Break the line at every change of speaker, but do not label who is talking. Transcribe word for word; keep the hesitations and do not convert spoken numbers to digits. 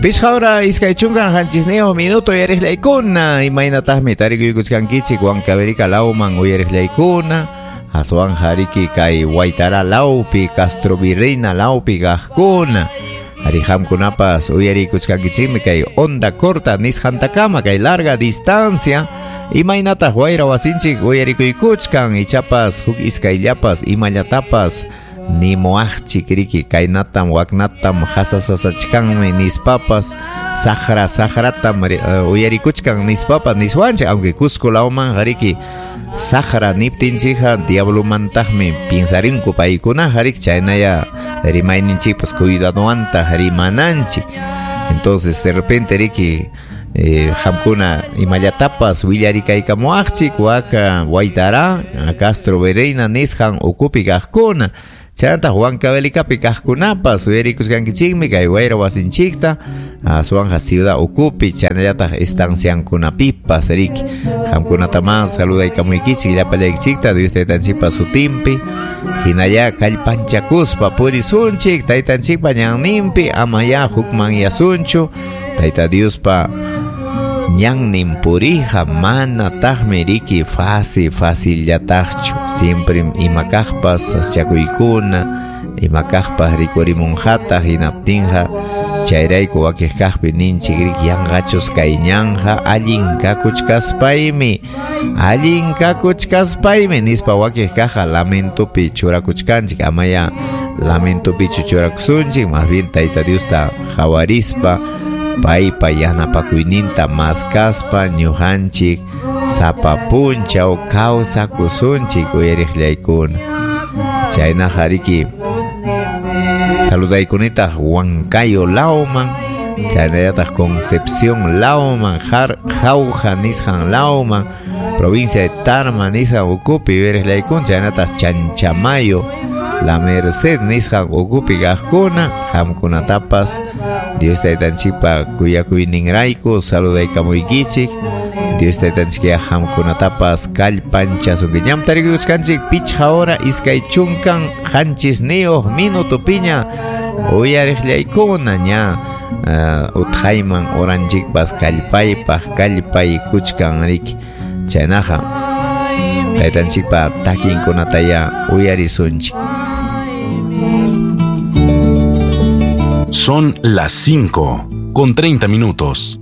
Pichqa hora iskay chunkan qanchisniyuq minuto uyariqllaykuna, imaynataqmi tarikuykuchkankichik Huancavelica lawman uyariqllaykuna, aswan hariki kay Huaytará lawpi, Castro Virreina lawpi kaqkuna. Ari qamkunapas uyariykuchkankichikmi kay onda corta nisqantakama kay larga distancia, imaynataq wayra wasinchik uyarikuykuchkan, ichapas huk iskayllapas imallatapas nimuaqchik riki kaynatam waknatam hasasasachkanmi nispapas saqra saqratam uh, uyarikuchkan nispapas niswanchik, aunque Cusco lawman riki saqra niptinchikqa diablomantaqmi piensarinku paykuna harik, chaynaya rimayninchikpas cuidadowantaq rimananchik. Entonces de repente riki Eh, qamkuna imallatapas willarikaykamuaqchik waka Huaytará Castro Virreina nisqan ukupi kaqkuna, chaynataq Huancavelicapi kaqkunapas uyarikushkankichikmi kay wayra wasinchikta aswanqa ciudad ukupi chaynallataq estanciankunapipas riki. Qamkunataman saludaykamuykichik llapallaykichikta Dios taytanchikpa sutinpi, hinalla kallpanchakuspa purisunchik taytanchikpa ñanninpi, amaya hukmanyasunchu Tayta Diospa ñannin purija manataqmi riki fácil facillataqchu, siempre imakaqpas saschakuykuna imakaqpas rikurimunqataq, hinaptinqa chayrayku wakiqkaqpi ninchik riki yanqachus kay ñanja allin kakuchkaspaymi allin kakuchkaspaymi nispa wakiqkaqqa lamentopi churakuchkanchik, amaya lamentopichu churakusunchik, más bien Tayta Diosta hawarispa paypa yanapakuyninta maskaspa ñuqanchik sapa punchaw kawsakusunchik uyariqllaykuna. Chaynaqa riki saludaykunitaq Huancayo lawman, chaynallataq Concepción lawman, Jauja nisqan lawman, provincia de Tarma nisqan ukupi uyariqllaykuna, chaynataq Chanchamayo, La Merced nisqan ukupi kaqkuna, qamkunatapas Dios taytanchikpa kuyakuyninrayku saludaykamuykichik. Dios taytanchikya qamkunatapas kallpanchasunki. Ñam tarikuchkanchik pichqa hora iskay chunkan qanchisniyuq minutupiña uyariqllaykuna ña uh, utqayman oranchikpas kallpaypaq kallpaykuchkan riki. Chaynaqa taytanchikpa takinkunataya uyarisunchik.
Son las cinco con treinta minutos.